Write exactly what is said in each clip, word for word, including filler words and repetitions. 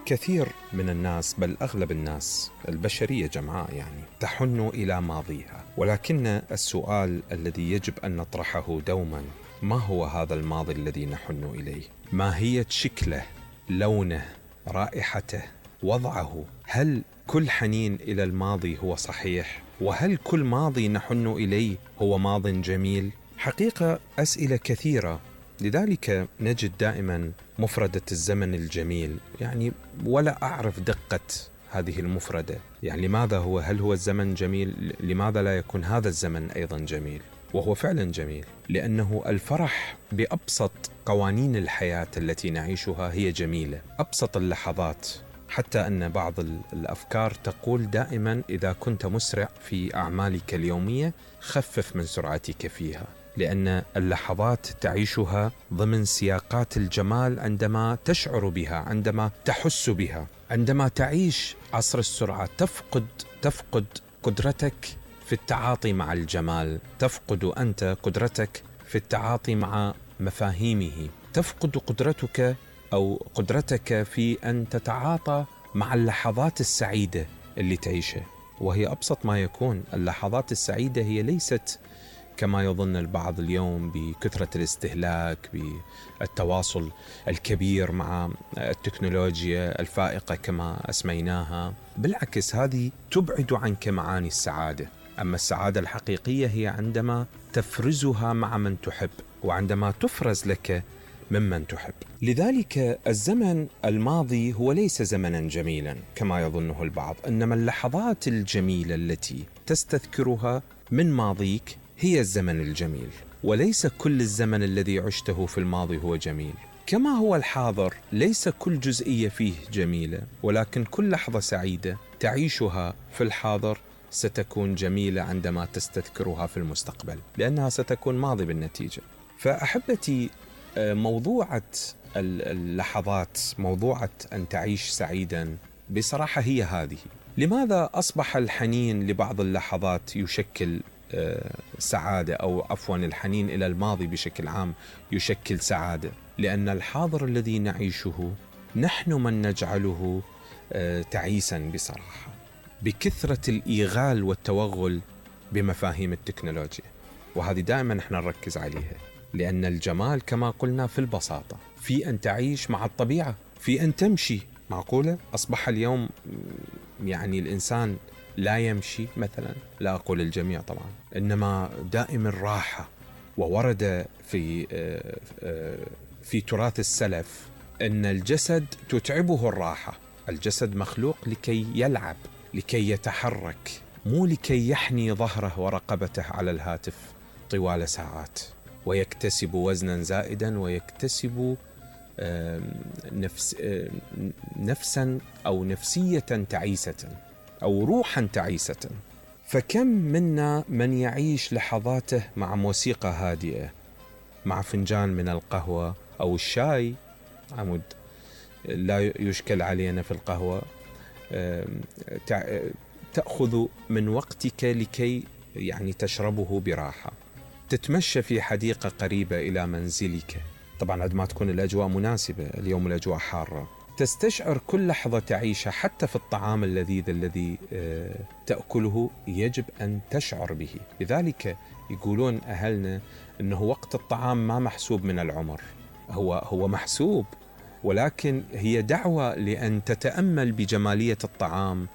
كثير من الناس، بل أغلب الناس البشرية جمعاء يعني، تحن إلى ماضيها، ولكن السؤال الذي يجب أن نطرحه دوما: ما هو هذا الماضي الذي نحن إليه؟ ماهية شكله، لونه، رائحته، وضعه؟ هل كل حنين إلى الماضي هو صحيح؟ وهل كل ماضي نحن إليه هو ماض جميل؟ حقيقة أسئلة كثيرة، لذلك نجد دائما مفردة الزمن الجميل، يعني ولا أعرف دقة هذه المفردة، يعني لماذا هو؟ هل هو الزمن جميل؟ لماذا لا يكون هذا الزمن أيضا جميل؟ وهو فعلا جميل، لأنه الفرح بأبسط قوانين الحياة التي نعيشها هي جميلة، أبسط اللحظات. حتى أن بعض الأفكار تقول دائما: إذا كنت مسرع في أعمالك اليومية خفف من سرعتك فيها، لأن اللحظات تعيشها ضمن سياقات الجمال عندما تشعر بها، عندما تحس بها. عندما تعيش عصر السرعة تفقد تفقد قدرتك في التعاطي مع الجمال، تفقد أنت قدرتك في التعاطي مع مفاهيمه، تفقد قدرتك أو قدرتك في أن تتعاطى مع اللحظات السعيدة اللي تعيشها. وهي أبسط ما يكون. اللحظات السعيدة هي ليست كما يظن البعض اليوم بكثرة الاستهلاك، بالتواصل الكبير مع التكنولوجيا الفائقة كما أسميناها. بالعكس، هذه تبعد عنك معاني السعادة. أما السعادة الحقيقية هي عندما تفرزها مع من تحب، وعندما تفرز لك ممن تحب. لذلك الزمن الماضي هو ليس زمنا جميلا كما يظنه البعض، إنما اللحظات الجميلة التي تستذكرها من ماضيك هي الزمن الجميل. وليس كل الزمن الذي عشته في الماضي هو جميل، كما هو الحاضر ليس كل جزئية فيه جميلة، ولكن كل لحظة سعيدة تعيشها في الحاضر ستكون جميلة عندما تستذكرها في المستقبل، لأنها ستكون ماضي بالنتيجة. فأحبتي، موضوعة اللحظات، موضوعة أن تعيش سعيدا، بصراحة هي هذه. لماذا أصبح الحنين لبعض اللحظات يشكل سعادة، أو عفوا الحنين إلى الماضي بشكل عام يشكل سعادة؟ لأن الحاضر الذي نعيشه نحن من نجعله تعيسا بصراحة، بكثرة الإيغال والتوغل بمفاهيم التكنولوجيا. وهذه دائما نحن نركز عليها، لأن الجمال كما قلنا في البساطة، في أن تعيش مع الطبيعة، في أن تمشي. معقولة أصبح اليوم يعني الإنسان لا يمشي مثلا؟ لا أقول الجميع طبعا، إنما دائم الراحة. وورد في في تراث السلف أن الجسد تتعبه الراحة. الجسد مخلوق لكي يلعب، لكي يتحرك، مو لكي يحني ظهره ورقبته على الهاتف طوال ساعات ويكتسب وزنا زائدا، ويكتسب نفس نفسا أو نفسية تعيسة أو روحا تعيسة. فكم منا من يعيش لحظاته مع موسيقى هادئة، مع فنجان من القهوة أو الشاي، عمود لا يشكل علينا في القهوة، تأخذ من وقتك لكي يعني تشربه براحة، تتمشى في حديقة قريبة إلى منزلك، طبعا عندما تكون الأجواء مناسبة، اليوم الأجواء حارة، تستشعر كل لحظة تعيشها. حتى في الطعام اللذيذ الذي تأكله يجب أن تشعر به. لذلك يقولون أهلنا أنه وقت الطعام ما محسوب من العمر، هو هو محسوب، ولكن هي دعوة لأن تتأمل بجمالية الطعام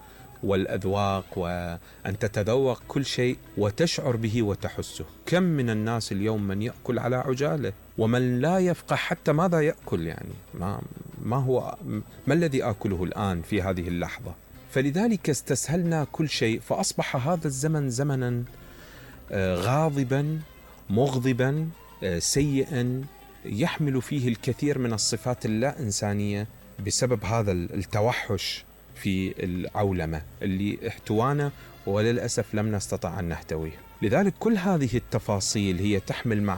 والأذواق، وأن تتذوق كل شيء وتشعر به وتحسه. كم من الناس اليوم من يأكل على عجالة، ومن لا يفقه حتى ماذا يأكل، يعني ما, ما هو ما الذي آكله الآن في هذه اللحظة. فلذلك استسهلنا كل شيء، فأصبح هذا الزمن زمنا غاضبا مغضبا سيئا، يحمل فيه الكثير من الصفات اللا إنسانية بسبب هذا التوحش في العولمة اللي احتوانا، وللأسف لم نستطع أن نحتويه. لذلك كل هذه التفاصيل هي تحمل مع